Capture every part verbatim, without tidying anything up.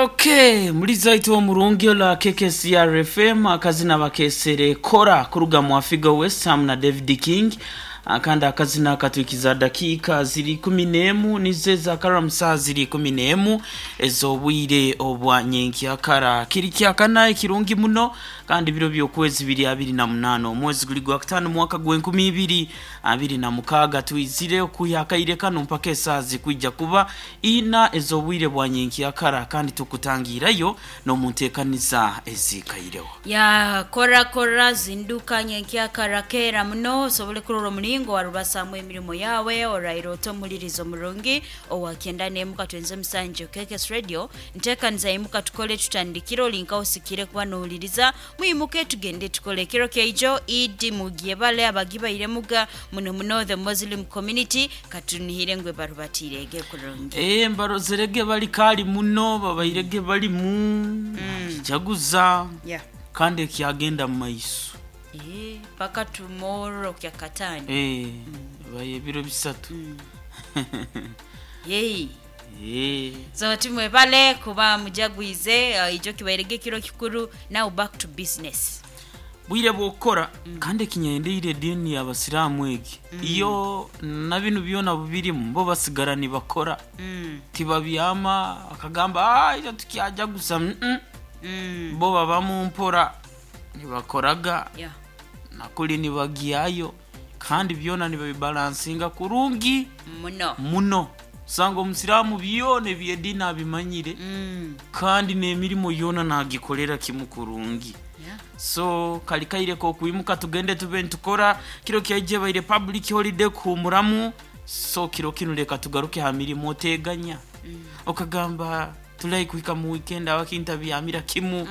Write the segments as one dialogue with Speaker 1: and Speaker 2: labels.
Speaker 1: Okay, muliza itu omurungi ola K K C R F M, akazina bakesere Kora kuruga mu Afigo West Ham na David King. Akandi akazina katwikiza dakiika ziri kumi n'emu nizo ezakara musaha ziri kumi n'emu ez'obwire obwa nyenkyakara. Kiri kyakana ekirungi muno, kandi biro by'okwezi biri abiri na munaana, omwezi guli gwa kutaano, mwaka gw'enkumi ibiri abiri na mukaaga. Twizire okuha akaire kano mpaka esaaha zikwija kuba ina ez'obwire bwa nyenkyakara, kandi tukutangirayo n'omunteekaniza ezikaireho.
Speaker 2: Ya kora kora, zinduka nyenkyakara kera muno osobole kurora omulingo warubasamu emirimu yawe. Oraira ota omulirizo murungi owakenda nemuka twenze musanju K K S Radio. Ntekaniza, imuka tukole, tutandikire. Olinka osikire kuba nowuliriza, mwimuke tugende tukole. Kiro kyaijo Idi mugyebale abagibaire muga muno muno the Muslim community, katunihire ngwe barubatirege kurungi.
Speaker 1: Eh, mbarozerege bali kali muno, babairege balimu kijaguza
Speaker 2: yeah.
Speaker 1: kandi ekyagenda mu maiso.
Speaker 2: Eh, paka tomorrow kyakatano.
Speaker 1: Eh, baye ebiro bisatu.
Speaker 2: Yei.
Speaker 1: Eh.
Speaker 2: So timwebale kuba mujagwize. uh, ijo kibairege kiro kikuru. Now back to business.
Speaker 1: Bwire bwokora, kandi ekinyendeire edini y'abasiraamu egi, iyo na binu byona bubirimu, bo basigara nibakora,
Speaker 2: mm.
Speaker 1: tibabyama akagamba, "Ah, ija tukyajaguza." mm -mm.
Speaker 2: Mm.
Speaker 1: Bo babamu mpora nibakoraga
Speaker 2: yeah.
Speaker 1: nakuli nibagyayo, kandi byona nibabibalansinga kurungi
Speaker 2: muno.
Speaker 1: Muno. Usanga omusiraamu byona ebyedini abimanyire,
Speaker 2: mm.
Speaker 1: kandi n'emirimo yona nagikolera kimu kurungi.
Speaker 2: yeah.
Speaker 1: So kali kaire kokwimuka tugende tube nitukora. Kiro kyaije baire public holiday kuhumuramu, so kiro kinu leka tugaruke ha mirimo. Oteganya okagamba tulai kuhika mu weekend abakintabyamira kimu,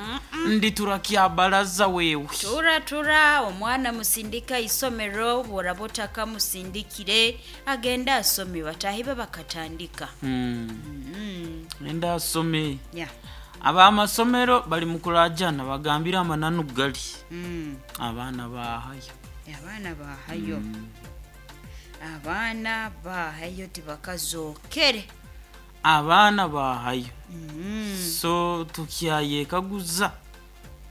Speaker 1: ndi turakyabalaza wewe.
Speaker 2: Tura tura, omwana musindika isomero, bworaba otakamusindikire agende asome, batahi be bakatandika.
Speaker 1: mm.
Speaker 2: mm.
Speaker 1: Enda asome.
Speaker 2: yeah.
Speaker 1: Abamasomero bali mukurajana, bagambire amananu gali,
Speaker 2: mm.
Speaker 1: abaana bahayo.
Speaker 2: Abaana bahayo, abaana bahayo, tibakazokere.
Speaker 1: Abaana bahayo.
Speaker 2: mm.
Speaker 1: So tukyayekaguza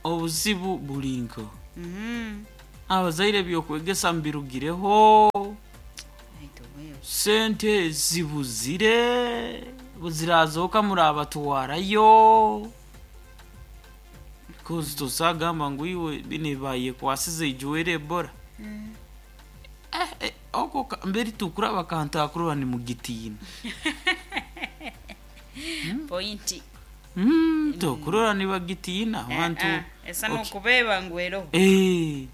Speaker 1: obuzibu bulinko.
Speaker 2: mm.
Speaker 1: Abazaire byokwegesa mbirugireho.
Speaker 2: Aitu wewe.
Speaker 1: Sente zibuzire, buzirazoka murabatwarayo, because tosagamba ngu iwe bine bayekwasize ijuwere ebola. eh, eh, oko ka- mberi tukura bakantakurwa ni mugitiina.
Speaker 2: Point.
Speaker 1: mm, tokurora nibagitiina abantu.
Speaker 2: Eh, eh, esa nokubeba ngwero.
Speaker 1: Eh,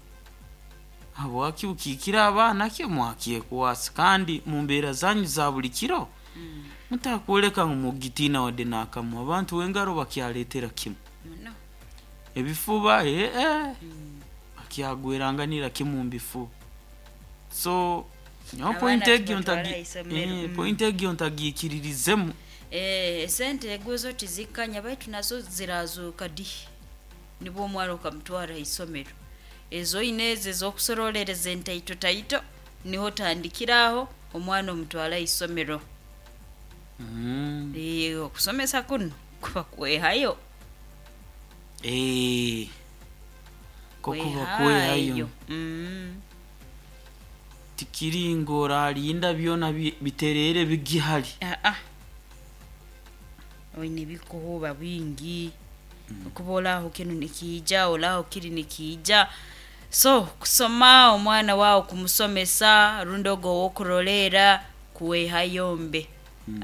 Speaker 1: habwaki ukikira abaana ke mwakyekwasa, kandi mu mbeera zanyu za buli kiro mutakwoleka ngu mugitiina wadde n'akamu? Abantu wengaro bakyaleetera kimu
Speaker 2: Muno.
Speaker 1: ebifuba, eh, eh, bakyagweranganira kimu mu bifuba. So nyowe
Speaker 2: Abaana
Speaker 1: point egyo
Speaker 2: tubatwara
Speaker 1: ntagi-
Speaker 2: isomero.
Speaker 1: eh,
Speaker 2: Mm.
Speaker 1: point egyo ntagikiririzemu.
Speaker 2: Eh, esente eguzo tizikanya, baitu nazo zirazuka di nibwo omwana okamutwara isomero. Ezo ine ezo ezokusorolereza entaito taito, niho tandikiraho omwana omutwara isomero.
Speaker 1: mm.
Speaker 2: Eh, okusomesa kuno kuba kwehayo.
Speaker 1: Eh, ko kuba kwehayo.
Speaker 2: Mm.
Speaker 1: Tikiri ngoralinda byona bi- biterere bigihari.
Speaker 2: Ah, ah. Oine bikuhuba bingi, okuba olaho kinu nikiija, olaho kiri nikiija. So kusoma omwana wawe, kumusomesa rundi ogo owokurolera, kuwehayo mbe.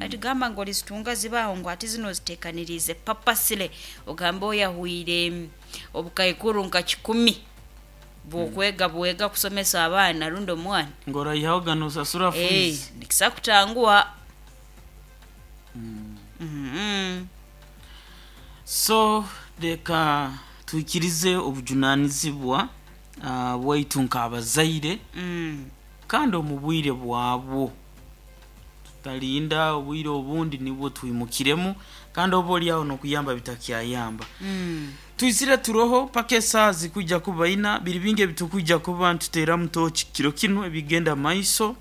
Speaker 2: Ati gamba ngu olizitunga zibaho, ngu ati zino zitekanirize papasile, ogambe oyahwire mm, obukaikuru nka kikumi bwokwega bwega kusomesa abaana rundi omwana.
Speaker 1: Ngorayihaho gano osasura
Speaker 2: Eh,
Speaker 1: fees.
Speaker 2: nikisa kutanguha. Mhm.
Speaker 1: So reka twikirize obujunanizibwa uh, bwaitu nk'abazaire,
Speaker 2: Mm.
Speaker 1: kandi omu bwire bwabwo. Tutalinda obwire obundi nibwo twimukiremu, kandi oba oliaho nokuyamba bitakyayamba.
Speaker 2: Mm.
Speaker 1: Twizire turoho paka esaaha zikwijja kuba ina. Biri bingi ebitukwija kuba ntuteeramu toki kiro kinu ebigenda maiso.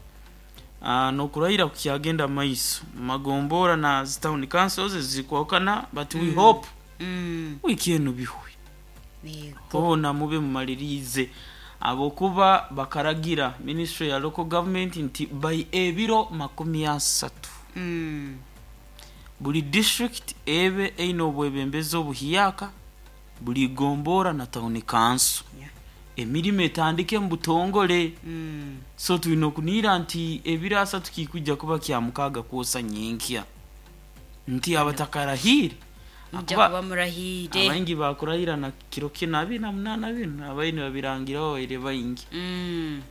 Speaker 1: uh, nokurahira kukyagenda maiso magombora na zi town councils zikwakana, but we hope
Speaker 2: Mm.
Speaker 1: wiiki eno bihwe.
Speaker 2: Yego.
Speaker 1: Boona mube mumalirize abokuba bakaragira ministry ya local government nti by ebiro makumi asatu
Speaker 2: Mm.
Speaker 1: buli district ebe eine obwebembezi obuhiyaka, buli gombora na town council
Speaker 2: Yeah.
Speaker 1: emirimu etandike mu butongole.
Speaker 2: Mm.
Speaker 1: So tulina okuniira nti ebiro asatu kikujja kuba kya mukaaga kwosa nyenkya nti abatakarahiire
Speaker 2: Mujja
Speaker 1: Akuba-
Speaker 2: kuba murahiire.
Speaker 1: abaingi bakurahira na kiro kino abiri na munaana bino abaini babirangiraho baire baingi.
Speaker 2: Mm.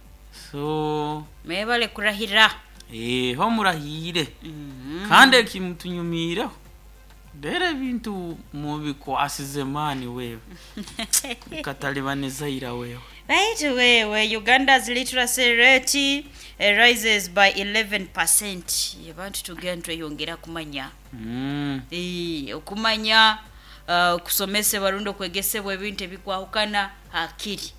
Speaker 1: So
Speaker 2: mwebale kurahira.
Speaker 1: eh, ho murahiire.
Speaker 2: Mm.
Speaker 1: Kandi ekimutunyumiireho rero ebintu mubikwasize maani wewe bikatalibanizaira wewe.
Speaker 2: Right, wewe Uganda's literacy rate eh, rises by eleven percent. Abantu tugenda tweyongera kumanya.
Speaker 1: mm.
Speaker 2: Eh, okumanya uh, okusomesebwa rundi okwegesebwa ebintu ebikwahukana hakiri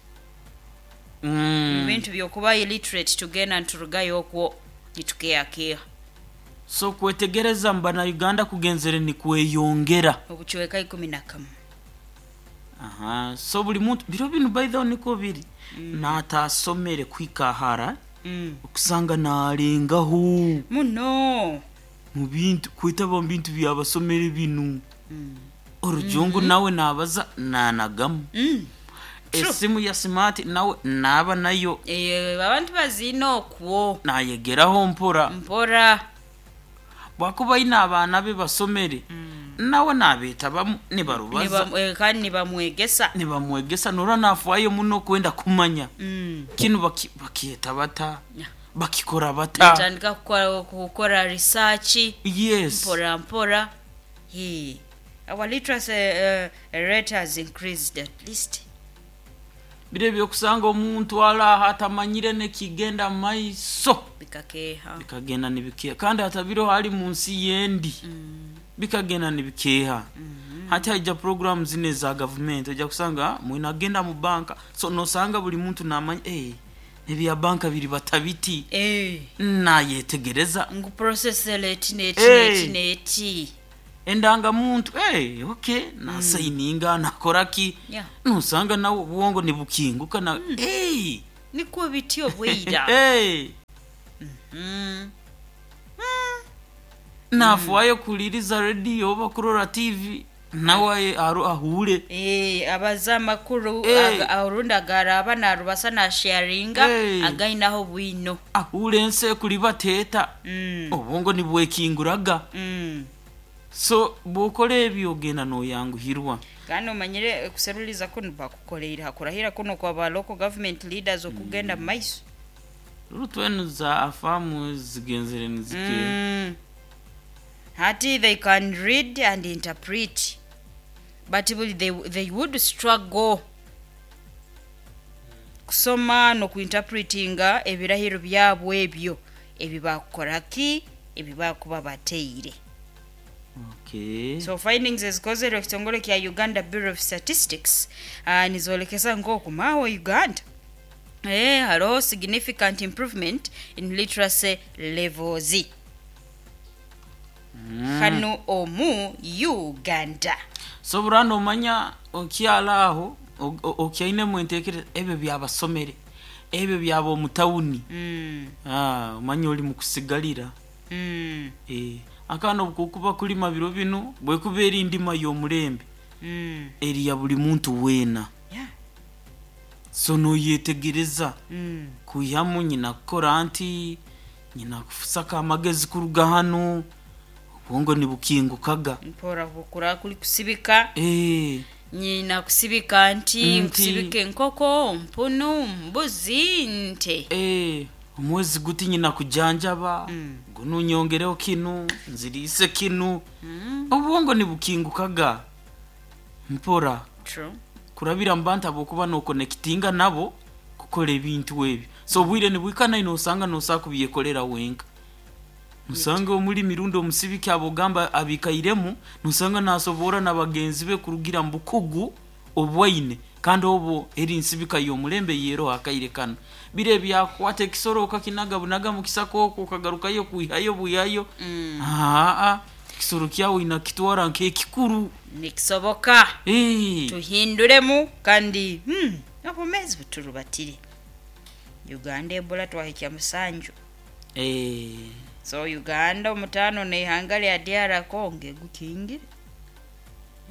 Speaker 1: Mm.
Speaker 2: ebintu byokuba illiterate tugenda nturugayo okwo nitukeakeha.
Speaker 1: So kwetegereza mu bannayuganda kugenzere ni kweyongera.
Speaker 2: Obucweka ikumi na kamu.
Speaker 1: Aha, so buli muntu biro binu, by the way, niko biri mm. natasomere kwikahara
Speaker 2: mm.
Speaker 1: okusanga nalengaho
Speaker 2: muno
Speaker 1: mu bintu kwetaba mu bintu byabasomere binu.
Speaker 2: mm.
Speaker 1: Orujungu nawe nabaza nanagamu.
Speaker 2: mm. True.
Speaker 1: Esimu ya smart nawe naba nayo.
Speaker 2: Eh, abantu bazina okwo.
Speaker 1: Nayegeraho mpora.
Speaker 2: Mpora.
Speaker 1: Bwakuba ina abaana be basomere nawe nabetabamu nibarubaza.
Speaker 2: Niba- eh, kandi nibamwegesa.
Speaker 1: Nibamwegesa nora nafuayo muno kwenda kumanya
Speaker 2: mm.
Speaker 1: kinu baki- bakiyeta bata,
Speaker 2: Yeah.
Speaker 1: bakikora bata.
Speaker 2: Natandika kukora, kukora research.
Speaker 1: Yes.
Speaker 2: Mpora mpora. He. Our literacy uh, rate has increased at least.
Speaker 1: Bire byokusanga omuntu alaha atamanyire nekigenda maiso.
Speaker 2: Bikakeha.
Speaker 1: Bikagenda nibikeha kandi hatabiro hali mu nsi yendi
Speaker 2: mm.
Speaker 1: bikagenda nibikeha. Hati haija program zine za gavumenti ojja kusanga mwinagenda mu banka, so nosanga buli muntu namanya, hey, ebya banka biri batabiti.
Speaker 2: Eh,
Speaker 1: nayetegereza.
Speaker 2: Ngu process leti neti
Speaker 1: Eh.
Speaker 2: neti neti.
Speaker 1: Endangamuntu, hey, okay, nasayininga nakoraki.
Speaker 2: Yeah.
Speaker 1: Nosanga nawe obwongo nibukinguka na hey.
Speaker 2: Niko bityo bweira.
Speaker 1: Hey.
Speaker 2: mm.
Speaker 1: Nafuayo kuliriza rediyo oba kurora T V nawe aru ahure.
Speaker 2: Eh, abaza amakuru.
Speaker 1: Eh.
Speaker 2: Aga- orundi agaraba narubasa nasharinga.
Speaker 1: Eh.
Speaker 2: Againaho bwino.
Speaker 1: Ahure ensi kuri bateta.
Speaker 2: mm.
Speaker 1: Obwongo nibwekinguraga.
Speaker 2: mm.
Speaker 1: So bwokora ebyo ogenda noyanguhirwa.
Speaker 2: Kandi omanyire kuseruliza kuno bakukoleire hakurahira kuno kwa ba local government leaders okugenda mu maiso.
Speaker 1: Rutwenu za afamu zigenzere nizike.
Speaker 2: mm. hati they can read and interpret, but will they, they would struggle kusoma nokuinterpretinga ebirahiro byabwe ebyo ebibakukoraki ebibakuba bateire.
Speaker 1: Okay.
Speaker 2: So findings ezikozerwe ekitongole kya Uganda Bureau of Statistics uh, nizolekesa ng'okumaawo Uganda eh, hariho significant improvement in literacy levels
Speaker 1: Mm.
Speaker 2: hano omu Uganda.
Speaker 1: So burano omanya okyala aho o- o- okyainemu entekereza ebyo byabasomere ebyo byaba omutawuni.
Speaker 2: mm,
Speaker 1: Ah, omanya oli mukusigalira.
Speaker 2: mm,
Speaker 1: Eh, akaana obukukuba kulima biro bino bwekuba eri ndima y'omulembe
Speaker 2: mm.
Speaker 1: eri ya buli muntu weena.
Speaker 2: Yeah.
Speaker 1: So noyetegereza
Speaker 2: mm.
Speaker 1: kuihamu nyina kukora nti nyina kusaka amagezi kuruga hano obwongo nibukingukaga.
Speaker 2: Mpora bukura kuli kusibika.
Speaker 1: Eh,
Speaker 2: Nyina kusibika nti
Speaker 1: Nti.
Speaker 2: nkusibika enkoko mpunu mbuzi nte.
Speaker 1: Eh, omwezi guti nyina kujanjaba
Speaker 2: Mm.
Speaker 1: guno nyongereho kinu nziriise kinu.
Speaker 2: mm.
Speaker 1: Obwongo nibukingukaga mpora.
Speaker 2: True.
Speaker 1: Kurabira mu bantu abokuba nokonekitinga nabo kukora ebintu ebyo, so obwire nibwikana nosanga nosaa kubyekolera wenka, nosanga omuli mirundi omusibiki abogamba abikairemu nosanga nasobora na bagenzi be kurugira mu bukugu. Obwaine kandi obu eri nsibika y'omulembe yero akaire kano bire byakwata ekisoro okakinaga bunaga mu kisaka okwo okagarukayo kwihayo bwihayo.
Speaker 2: Mm.
Speaker 1: Aa, ekisoro kyawe inakitwara nk'ekikuru.
Speaker 2: Nikisoboka.
Speaker 1: Eh,
Speaker 2: Tuhinduremu kandi hmm, obumezi buturubatire. Uganda Ebola twahikya musanju.
Speaker 1: Eh,
Speaker 2: so Uganda omutano neihanga lya D R Congo egukingire.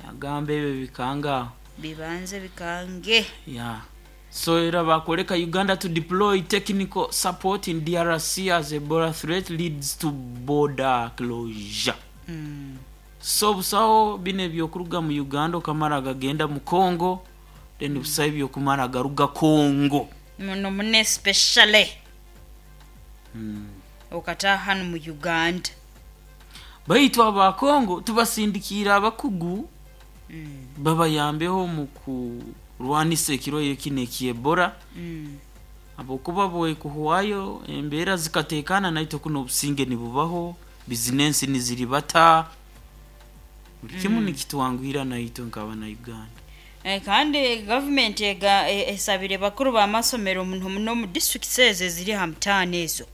Speaker 1: Yagamba ebyo bikanga.
Speaker 2: Bibanze bikange.
Speaker 1: Yeah. So era bakoleka Uganda to deploy technical support in D R C as Ebola threat leads to border closure.
Speaker 2: mm.
Speaker 1: So busaho bino ebyokuruga mu Uganda okamara gagenda mu Congo, then busaho ebyokumara garuga Congo.
Speaker 2: Muno mune especially
Speaker 1: mm.
Speaker 2: okataha hano mu Uganda.
Speaker 1: Baitu aba Congo tubasindikiire abakugu
Speaker 2: mm.
Speaker 1: babayambeho mu kurwanisa ekirwaire kino eky'Ebola.
Speaker 2: Mm.
Speaker 1: Habwokuba bwekuhwayo embeera zikateekana, naitwe kuno obusinge nibubaho, bizinensi niziribata, buli kimu nikitwanguhira naitwe nk'abana Uganda.
Speaker 2: Eh, kandi gavumenti ega e- esabire bakuru b'amasomero muno muno mu districts ezo eziri ha mutaano ezo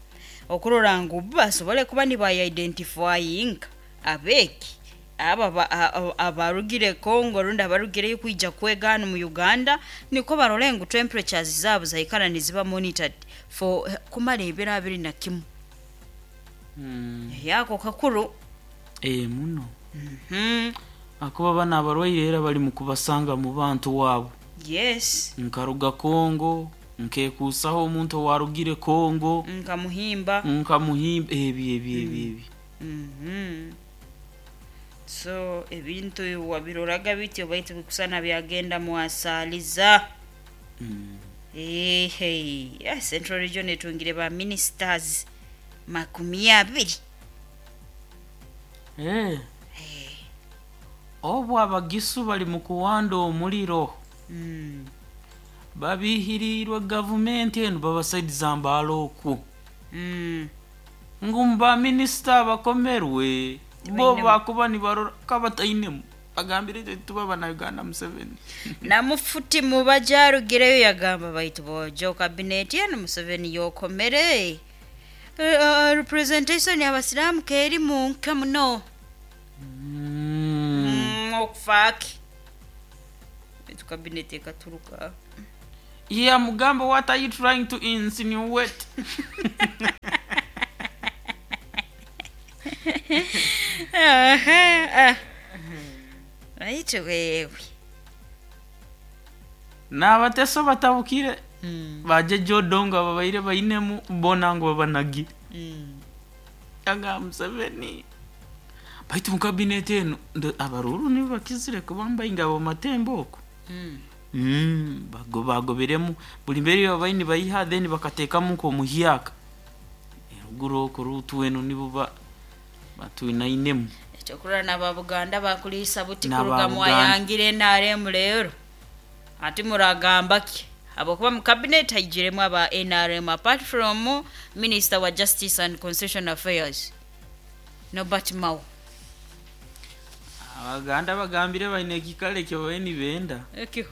Speaker 2: okurora ngu basobole kuba nibayidentifyinga abeegi aba ba- a- a- abarugire Congo rundi abarugireyo kwija kwega hano mu Uganda, niko barole ngu temperatures zaabo zaikara niziba monitored for eh, kumara ebiro abiri na kimu.
Speaker 1: Mm.
Speaker 2: Yako kakuru.
Speaker 1: Eh, muno.
Speaker 2: Mhm.
Speaker 1: Akuba bana abarwaire era bali mu kubasanga mu bantu waabo.
Speaker 2: Yes.
Speaker 1: Nkaruga Congo, nkekuusaho omuntu owarugire Congo.
Speaker 2: Nkamuhimba.
Speaker 1: Nkamuhimba, ebyo ebyo ebyo ebyo.
Speaker 2: Mhm. So ebintu wabiroraga bityo, baitu bikusana byagenda mwasaaliza.
Speaker 1: Mm.
Speaker 2: Ehe, yeah, Central Region etungire ba ministers makumi abiri.
Speaker 1: Eh. Obu abagisu bali mu kuwanda omuliro.
Speaker 2: Mm.
Speaker 1: Babihirirwe gavumenti eno, babasaidiza mbaala okwo.
Speaker 2: Mm.
Speaker 1: Ngu mubaminisita abakomerwe bo
Speaker 2: Tibainemu.
Speaker 1: Bakuba nibarora kabatainemu, bagambire itwe tuba bana Uganda Museveni.
Speaker 2: Namufuti mubajarugireyo yagamba, baitu bojo kabineti eno Museveni yokomere. Uh, representation y'abasiraamu keri munka muno.
Speaker 1: Mm.
Speaker 2: Mm, okufaaki baitu kabineti ekaturuka.
Speaker 1: Yeah, mugamba, what are you trying to insinuate?
Speaker 2: Aha, ah. Baitu wewe.
Speaker 1: N'abateso batabukire.
Speaker 2: Mm.
Speaker 1: Baje jodongo babaire bainemu bona ngu babanagi.
Speaker 2: Mm.
Speaker 1: Aga Museveni, baitu mu kabineti eno ndo- abaruru nibo bakizire kubamba ingabo matembo okwo.
Speaker 2: Mm.
Speaker 1: Mm, bago bagoberemu buli mbere babaini bayiha, then bakateekamu nk'omuhyaka eruguru okwo rutu eno nibo ba batwinainemu.
Speaker 2: Ekyokurora n'ababuganda bakuliisa buti
Speaker 1: N'aba
Speaker 2: kuruga
Speaker 1: Buganda.
Speaker 2: Mwayangire N R M leero ati muragamba ki habwokuba mu cabinet haijiremu aba N R M apart from minister wa justice and constitution affairs Norbert Mao.
Speaker 1: Abaganda bagambire baine ekikalo ekyo babe nibenda.
Speaker 2: Ekiho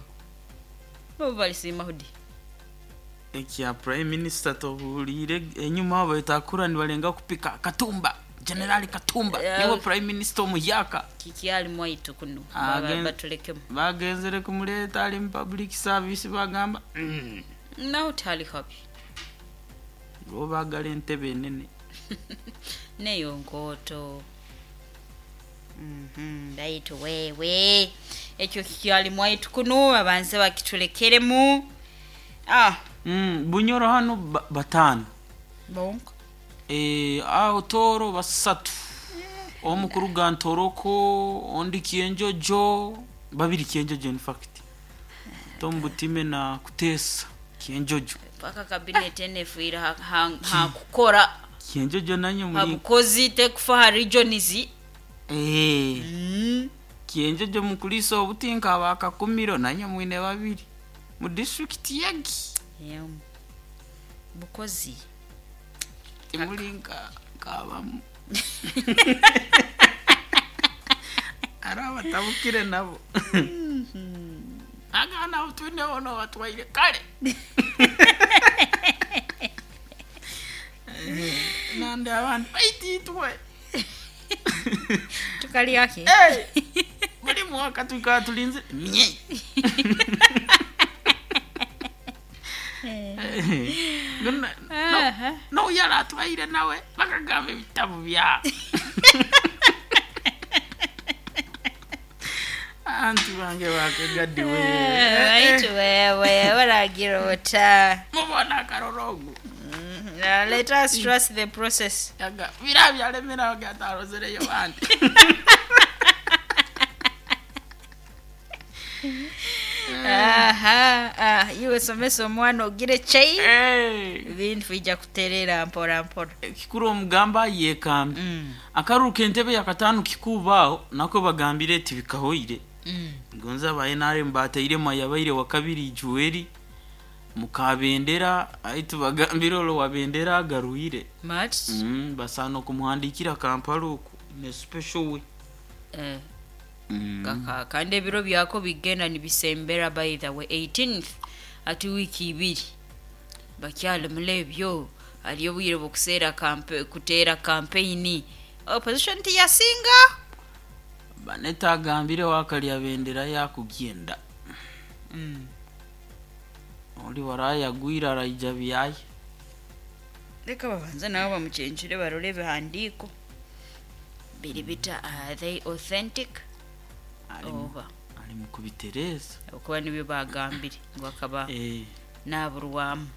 Speaker 2: bo balisiima hudi.
Speaker 1: Ekya prime minister tobuliire enyuma abo betakura nibalenga kupika Katumba, Generali Katumba.
Speaker 2: Yeah.
Speaker 1: Niwe prime minister omuhyaka.
Speaker 2: Kikyali mwaitu kuno.
Speaker 1: Ah,
Speaker 2: Baba-
Speaker 1: gen-
Speaker 2: batulekemu.
Speaker 1: Bagenzere kumuleeta ali mu public service, bagamba mm.
Speaker 2: Naho tali habi.
Speaker 1: Bo baagala entebe enene.
Speaker 2: Neyo nkooto. Mhm, baitu wewe ekyo kikyali mwaitu kuno abanze bakitulekeremu, ah.
Speaker 1: mm, bunyoro hano ba- bataano.
Speaker 2: Bonka.
Speaker 1: Eh, aho Tooro basatu, omu kuruga Ntoroko, ondi Kyenjojo, babiri Kyenjojo, in fact Tom Butime na Kuteesa Kyenjojo.
Speaker 2: Paka kabineti enefiire ha- ha- hakukora.
Speaker 1: Kyenjojo nanyo muri
Speaker 2: Habukozi tekufa ha regions.
Speaker 1: Eh,
Speaker 2: Mm.
Speaker 1: Kyenjojo mukulisa obutinka abakakumiro nanyo mwine babiri mu district yagi.
Speaker 2: Yeah. Bukozi.
Speaker 1: Timuli nka kabamu ari abatabukire nabo. Agana utwine ono batwaire kale. Nande abantu baititwe.
Speaker 2: Tukali yake.
Speaker 1: Hey! Buli mwaka tukaba tulinze mye. No, no yaratwaire nawe bakagamba ebitabo bya. Anti bange bakagadiwe.
Speaker 2: Baitu wewe baragira ota.
Speaker 1: Mubona akarorogo.
Speaker 2: Now let us trust the process.
Speaker 1: Yaga bira byalemera gatalozereyo bandi.
Speaker 2: Aha, ah, iwe somesa omwana ogire chai.
Speaker 1: Hey.
Speaker 2: Ibintu bijja kuterera mpora mpora.
Speaker 1: Kikuru omugamba yekambi.
Speaker 2: Mm.
Speaker 1: Akaruka entebe yakatano kikubaaho nako bagambire eti bikahoire.
Speaker 2: Mm.
Speaker 1: Gonza aba N R M bateiremu yabaire wa kabiri Juweri mukabendera aitu bagambire olo wabendera agaruire.
Speaker 2: Much.
Speaker 1: Mm, basana okumuhandikira Kampala oku ne special way.
Speaker 2: Eh.
Speaker 1: Mm.
Speaker 2: Kaka kandi ebiro byako bigenda nibisembera by the way eighteenth ati wiki ibiri bakyali mulebyo aliyo obwire bw'okuseera kampe kuteera campaign opposition tiyasinga.
Speaker 1: Baneta agambire wakalya bendera yakugenda.
Speaker 2: Mm.
Speaker 1: Oli warayagwira araija byaye.
Speaker 2: Leka babanza nabo bamuchenjere barole ebihandiiko biri bita, are they authentic? Oba
Speaker 1: ali mu kubitereza
Speaker 2: okuba nibyo bagambire ngu akaba
Speaker 1: eh
Speaker 2: naburwamu.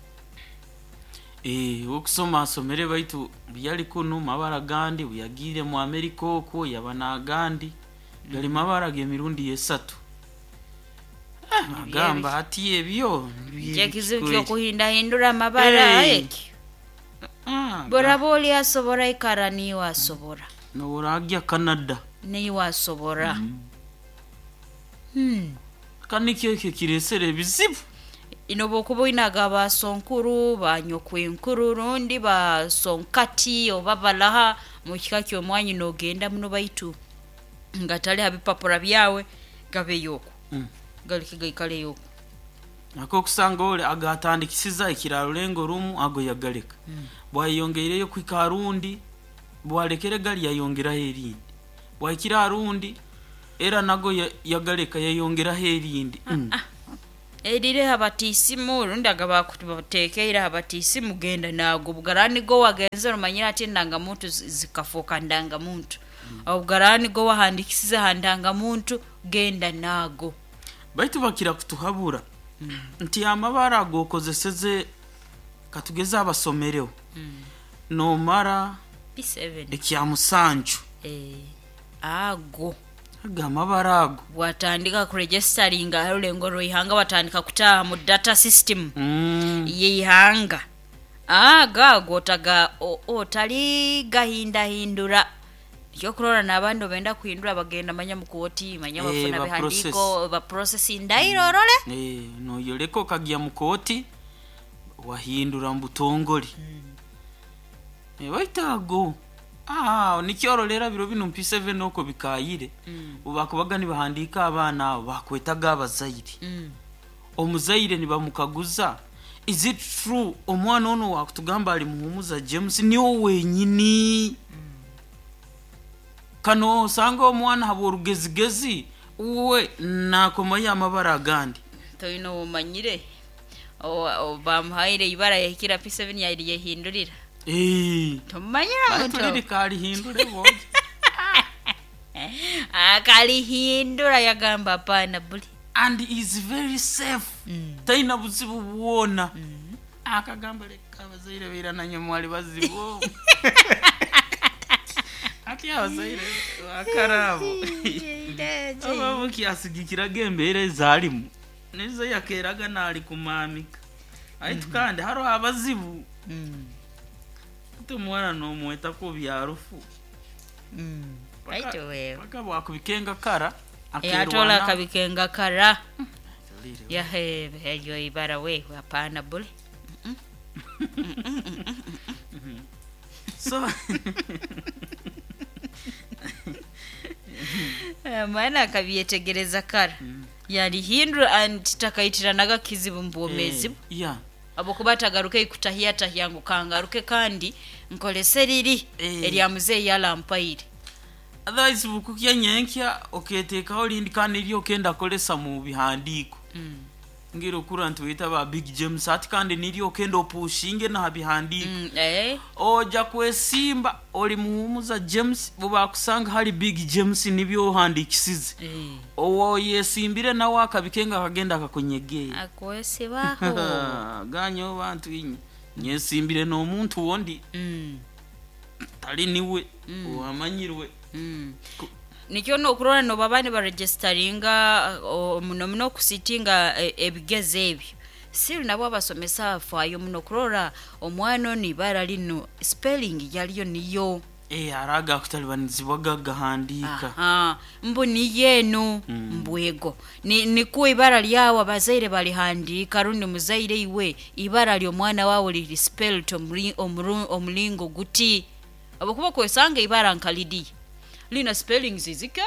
Speaker 1: Eh, okusoma asomere baitu byali kuno mabara gandi buyagire mu Amerika okwo yaba nagandi gali mabara g'emirundi esatu. Ah, agamba ati ebyo
Speaker 2: ekizibu ky'okuhindahindura amabara
Speaker 1: Hey.
Speaker 2: ekyo boraba oli asobora ikara niwe asobora
Speaker 1: noworagya Canada
Speaker 2: niwe asobora. Hmm.
Speaker 1: kandi ekyo kiresere ebizibu.
Speaker 2: Ino bwokuba oinaga basonkuru banyokwenkuru rundi basonkati oba balaha mu kika ky'omwanyi n'ogenda muno baitu nga tali ha bipapura byawe gabeyo okwo.
Speaker 1: Mm.
Speaker 2: Galeke gaikaleyo okwo.
Speaker 1: Nako okusanga ole agatandikisiza ekiraro lengo rumu ago yagaleka.
Speaker 2: Mm.
Speaker 1: Bwayongeireyo kwika rundi bwalekere gali yayongeraho erindi bwakira rundi era nago yagaleka yayongeraho erindi. Mm.
Speaker 2: Ah, ah. Erire abatisimu rundi agabakutekeire abatisimu genda nago bugarani go wagenze rumanyira ati ndangamuntu zikafoka ndangamuntu. Mm. Obugarani go wahandikisize handangamuntu genda nago.
Speaker 1: Baitu bakira kutuhabura. Mm. Nti amabara agokozeseze katugeza abasomereho.
Speaker 2: Mm.
Speaker 1: Nomara
Speaker 2: P seven
Speaker 1: ekya musanju.
Speaker 2: Eh ago
Speaker 1: agamabara ago
Speaker 2: watandika kuregisteringa rulengo rwihanga watandika kutaha mu data system.
Speaker 1: Mm.
Speaker 2: Yihanga aga ago taga otali gahindahindura kyokurora n'abandi benda kuhindura bagenda manya mukoti manya bafuna
Speaker 1: eh,
Speaker 2: bihandiko ba processing ndairorole
Speaker 1: eh no yoleko kagia mukoti wahindura mbutongoli.
Speaker 2: Mm.
Speaker 1: Eh baitago ah nikyorolera biro bino P seven oko bikayire.
Speaker 2: Mm.
Speaker 1: Ubakubaga nibahandika abana abo bakwetaga abazaire.
Speaker 2: Mm.
Speaker 1: Omuzaire nibamukaguza is it true omwana ono wakutugamba ali Muhumuza James niwo wenyini.
Speaker 2: Mm.
Speaker 1: Kano osanga omwana habo orugezigezi uwe nakomayo amabara agandi
Speaker 2: toyina omanyire bamuhaire ibara yahikira P seven yari yahindurira.
Speaker 1: Eh.
Speaker 2: Tomanyira
Speaker 1: muto. Tuliri kalihindure bo.
Speaker 2: Akalihindura yagamba hapana buli.
Speaker 1: And is very safe.
Speaker 2: Mm.
Speaker 1: Taina buzibu bwona.
Speaker 2: Mm.
Speaker 1: Akagamba leka abazaire beira nanye mwali bazibu. Ati abazaire bakarabo. Aba kiasigikiraga embeera ezalimu. Nizo yakeraga nali kumamika. Aitu kandi haro abazibu.
Speaker 2: Mm.
Speaker 1: Tumwana nomweta ku byarufu.
Speaker 2: Mm. Aitu wewe.
Speaker 1: Paka bwakubikenga kara.
Speaker 2: Atola akabikenga kara. Yahe eyo ibara we hapana bule.
Speaker 1: So
Speaker 2: Eh, maana akabyetegereza kara yalihindura and takaitiranaga kizibu mu bwomeezi bwe.
Speaker 1: Eh, yeah.
Speaker 2: Habwokuba atagaruke ikutahyatahya ngu kangaruke kandi nkolese riri
Speaker 1: Eh.
Speaker 2: erya muzeeyi yalampaire.
Speaker 1: Otherwise bukukya nyenkya oketeekaho lindi kandi niryo okenda kolesa mu bihandiiko. Ngira okura ntuwita ba Big James ati kandi niryo okenda opushinge naha bihandiiko.
Speaker 2: Mm, eh.
Speaker 1: Oja kwesimba oli muhumuza James bubakusanga hali Big James nibyo ohandikisize.
Speaker 2: Eh.
Speaker 1: Owo yesimbire nawe akabikenga akagenda akakunyegeya.
Speaker 2: Akwesibaho.
Speaker 1: Ganyo bantu inye nyesimbire n'omuntu wondi
Speaker 2: Mm,
Speaker 1: tali niwe owamanyirwe.
Speaker 2: mm.
Speaker 1: Ku-
Speaker 2: Nikyo nokurora nobaba nibaregisteringa o- muno muno okusitinga e- ebigezo ebyo still nabo abasomesa afaayo muno kurora omwana ono ibara lino spelling yaliyo niyo.
Speaker 1: Eh, hariho agakutalibanizibwa gagahandiika.
Speaker 2: Aha, mbu niyo eno mbwego Ni- nikuwa ibara lyawe abazaire balihandika rundi muzaire iwe ibara ly'omwana wawe liri spelled omuri- omuru- omulingo guti abakuba kwesanga ibara nkalidiya lina spelling zizike